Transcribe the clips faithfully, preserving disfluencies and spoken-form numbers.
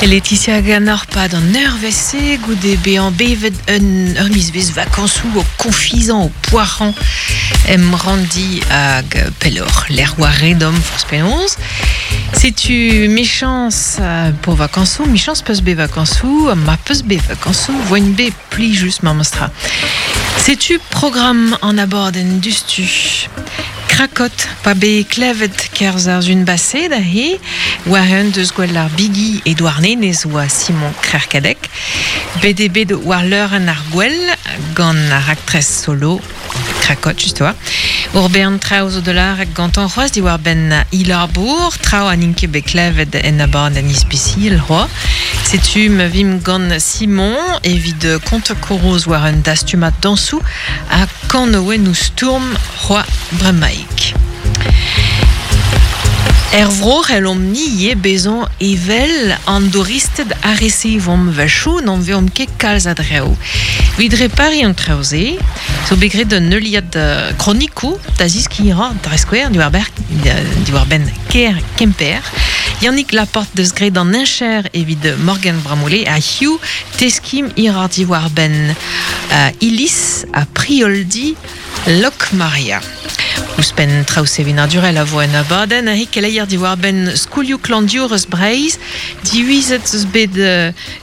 Laetitia ganeoc'h pad an eurvezh-se goude bezañ bevet un ur mizvezh vakañsoù o konfizañ o poac'hañ em randi hag pelloc'h lec'h war redom forzh penaos. Setu mechañs pour vakañsoù, mechañs peus bet vakañsoù, ma peus bet vakañsoù, voen bet plijus memestra. Setu programm an abadenn dustu. Krakot, pa be klevet kerzh ar zun baset da he, war un deus gwell ar bigi e Douarnenez oa Simon Krerkadek, bet eo bet war leurenn ar gwell gant ar raktres solo Krakot, just oa. Ur bern traoù zo de lar gantañ c'hoazh diwar benn Ilabour, traoù an int ket bet klevet en abadenn ispisial c'hoazh. Setu ma vim gant Simon evit kontañ koroz war un dastumad dañsoù ha kanaouennoù stourm c'hoazh bremaik. Er vro c'hellomp ni ivez bezañ evel an douristed a resevomp wechoù n'an veomp ket kalz a draoù. Evit repariñ an traoù-se, zo bet graet un heuliad kronikoù da zeskiñ dre skouer diwar diwar benn kêr Kemper. Yannick Laporte deus graet an heñcher evit Morgan Bramoullé ha hiziv teskim hir diwar benn uh, Iliz ha Prioldi Lokmaria. Ouzhpenn traoù sevenadurel a vo en abadenn a keleier diwar benn skolioù klañvdiour eus Breizh, divizet eus bet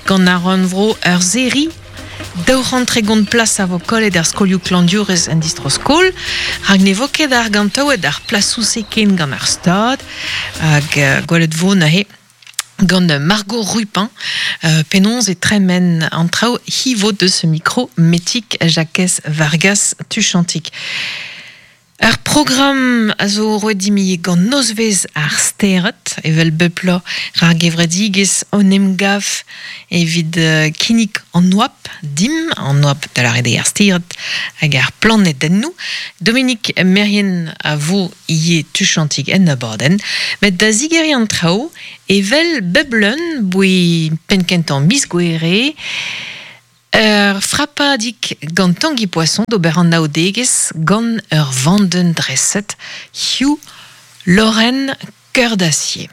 gant ar rannvro ur seri daou c'hant tregont plas a vo kollet ar skolioù klañvdiourez en distro-skol, rak ne vo ket argantaouet ar plasoù-se ken gant ar Stad, hag gwelet vo neuze gant Margot Rupin, euh, penaos e tremen an traoù hivo deus mikro Metig Jakez Vargas Tuchantik. Ar programm a zo roet dimi gant nozvezh ar stered, evel bep bloaz ar gevredigezh an emgav evit uh, kinnig an oabl dim, an oabl da lâret eo ar stered hag ar planedennoù. Dominique Merrien a vo ivez tuchantik en abadenn, met da zigeriñ an traoù evel bep lun boe penn-kentañ miz Gouere, Ur frapadig gant Tanguy Poisson d'ober an anaoudegezh gant ur vandenn dreset, hiziv Lorraine Cœur d'Acier.